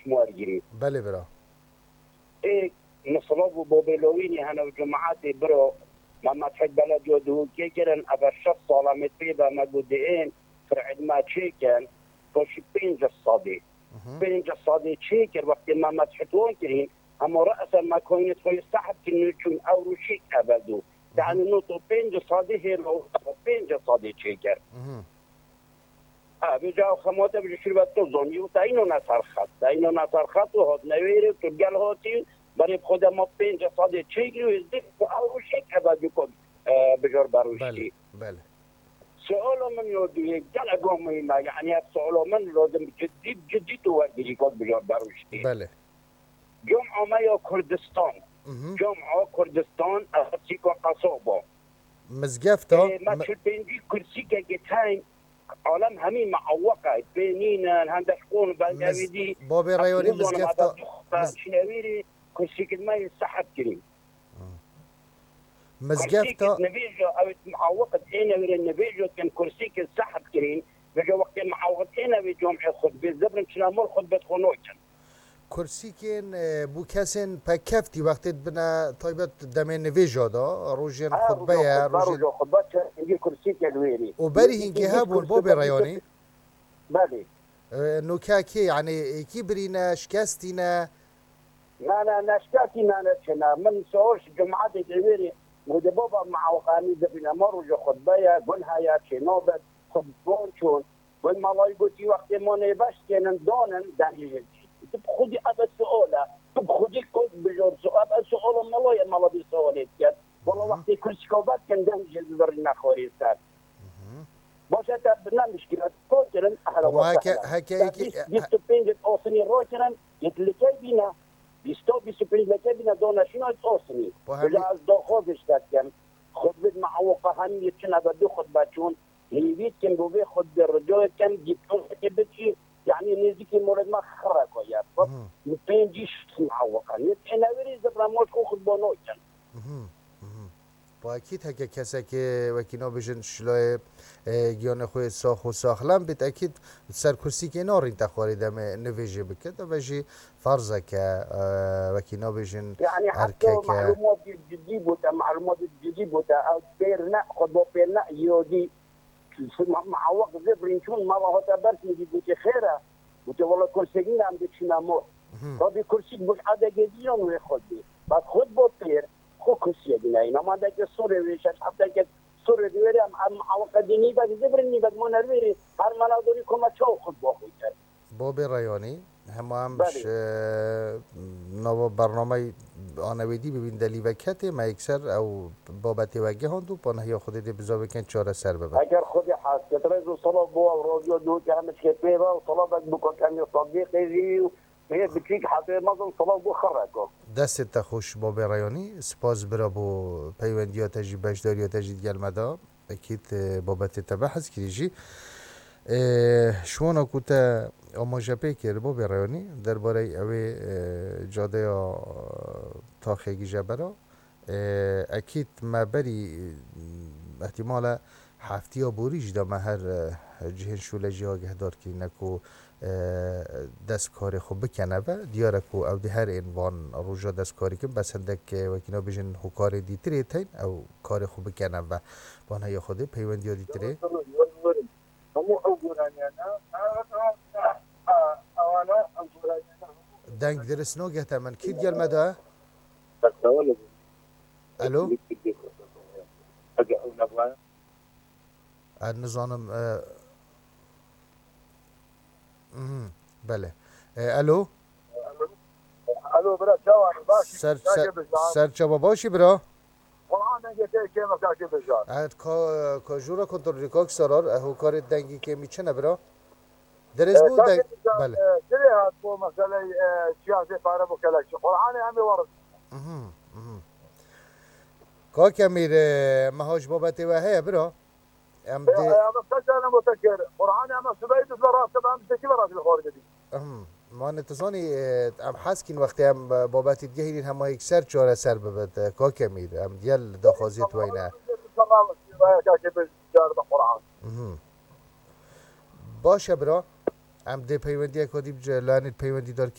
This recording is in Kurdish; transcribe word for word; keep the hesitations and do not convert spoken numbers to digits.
wergirî. Belê bira. Ê, misilov û bobê lowînî hene û cemaetê biro, me Mescid Belediyo Duhokê kirin, ev şeş sala me pê de me got diên, fir'id me çêkin, paşî pênc sadê. Mhm. Pênc sadê çêkir, wextê me Mescid wan kirîn, hema re'sen me koynet xwe sehb kirin, çûn ew rûşîk eveldo. Mhm. Yani noto pênc sadê hêlo, pênc sadê çêkir. Mhm. Ha, vêca ew xemate bi ji şirvet to zonî û te îno ne ser xet. Te îno ne ser xet û hat newêrê tu gel hatî, berê bi xwe de ma pênc sadê çêkirî û êzdî ku ew rûşê keve du ku, e, bijor berûştî. Belê, belê. Sualo min yo duyê gelek muhîm e. Yani ev sualo min lozim cidî, cidî tu wergirî ku bijor berûştî. Belê. Cuma me ya Kurdistan. Mhm. Cuma Kurdistan, ev sîka qesaba. Mizgefta, Ê, me mi- çil pêncî kursîkekê teyn, alem hemî meaweq e, pê nînin, hende ji qon û bengevî Miz-, dî, Babê Reyonî, ez mizgefta, nizanim, miz- çinewîrî kursîkit me yê sehb kirî. Hmm. Mizgefta Kursîkit nivêjo, ew meaweq ê newêrê nivêjo kin kursîkit sehb kirîn, vêjo wextê meaweq ê newê comê xutbê zibrin çina mor xutbet xwe nokin. Kursîkên, e, bo kesên pekeftî wextê dibine taybet demê nivêja de, rojên Ha, xutbe roja ye, xutbe, rojên roja xutbe, çendî kursîkên wêrî. Û berî hînkê hebûn, bo bê reyanî? Belê. E, nûke kê, yanî êkî birîne, şikestîne? Na, na, na, şikestî nane çêne. Min sor ji cemaetê wêrî, û de baba meaweqanî dibîne, ma roja xutbe ye, gun heye, çê nabet, xutbon çûn. Wê malayî gotî, wextê ma nêbeş kênin, donin, denî ji. Tu bi xwedî ev sual e. Tu bi xwedî kot bijor su-, ev suala malayê mala bî sualê diket. Wala Mhm. wextê kursîka vekin, den ji zirî nexwarî ser. Mhm. Baş e, te bi ne mişkîla ko kirin, ehla Ama wexte heke, hele. heke Te êkî, bîst, bîst û pênc osnî ro kirin, yê tu li key bîne, bîst û, bîst û pênc li key bîne, dona şîna osnî. Bu Vêca hemî- ez daxwaz ji te dikim. Xutbet me ewoqa hemî çin, eve du xutbe çûn. Hêvî dikim bo vê xutbê rica dikim dîplomekê bikî, yanî nêzîkî mored me xireko ye. Xwe Mhm. pêncî şeş meaweqan. Yê têne wêrî zibra moş xwe xutba nokin. Mhm. Mhm. Bu ekîd heke kesekê wekî nabêjin şilayê, e, giyanê xwe sax û saxlem bît, ekîd ser kursîkê narîn te xwarê demê nivêjê bike. Deve jî ferzeke, e, wekî nabêjin Yani heta erkeke. Malumat cidî bûte, malumat cidî bûte. Ew pêr ne, xutba pêr ne, yodî Ma, ma awak zibrîn çûn, mala hota ber min dî, gotê, "Xêr e?" Gotê, "Wela kursêk nîne, em dê çîne mor." Mhm. Rabî kursîk bû, adegê dî yon wê xwe dî. Bas xwe bo pêr, xwe kursiyê dîne. Îna ma deke sorê wê, şeş heft deke sorê dî wêrê, em, em awaka dî nîbek zibrîn, nîbek ma nervêrê, her mala dorî koma çaw xwe bo xwe ker. Babê Reyanî, hema em Belê. ji, e, nava bernameyê anewêdî bibîn delî veketê, me yekser ew babetê we gihand û panehiya Xwedê dê bizavêken çareser bibe. Eger Xwedê hez ket, rêz û selav bo ew radyo dû ke em çikê pê ve û selavek bo kakemê Sadiqê jî û pê biçîk hetê mezin selav bo xirreko. Destê te xweş babê Reyanî, spas bira bo peywendiya te jî, beşdariya te jî digel me de. Ekîd, e, babetê te behs kirî jî. E, şiwana ku te amaje pê kir, babê Reyanî, derbarey ewê, e, cadeya, e, taxê gije bera. E, ekîd me berî, e, ihtimale heftiya borî jî de me her, e, cihên şûle jî agehdar kirîne ku e, dest karê xwe bikene ve. Diyar e ku ew dê her ên van roja dest karî kin, bes hindek, e, wekî nabêjin hokarê dîtirê tên, ew karê xwe bikene ve. Van heya Xwedê peywendiya dîtirê. Hemû ew goraniyane, a, a, a, a, ewana ew goraniyane hemû Deng dirist nagehte min. Kî digel me de? Alo? Ege ew nebû. Ez nizanim, e, mhm, belê. E, alo? Alo, bira, çawa? Baş, Ser, ser, ser çava başî, bira? Qur'an dengê te kêm e, kake bijar. Evet, ka, ka jûra kontrolî, kak Sarar, e, hokarê dengî kêmî çi ne, bira? Dirêz E, bû, kake deng-, bijar, belê. E, dirê hat bo meseley, e, siyasê pare bo kelekçi. Qur'anê em ê warin. Mhm, mhm. Kak Emîr, e, meha ji babetê we heye, bira? Em Ya, dê ya, bak, kaç tane mutekir? Qur'anê em subey dizle rast, em teki ve rast bir xor dedi. Ahem. Mane tu zanî, e, em hez kîn wextê em, e, babetî digehînîn hema yekser çareser bibit, e, kak Emîr. Em diyel daxwaziyê tu weyne. Tamam, ya, ya, ya, Qur'an. Mhm. Baş e, bira. Em dê peywendiyek dî bi ce-, lanê peywendî derkeyn.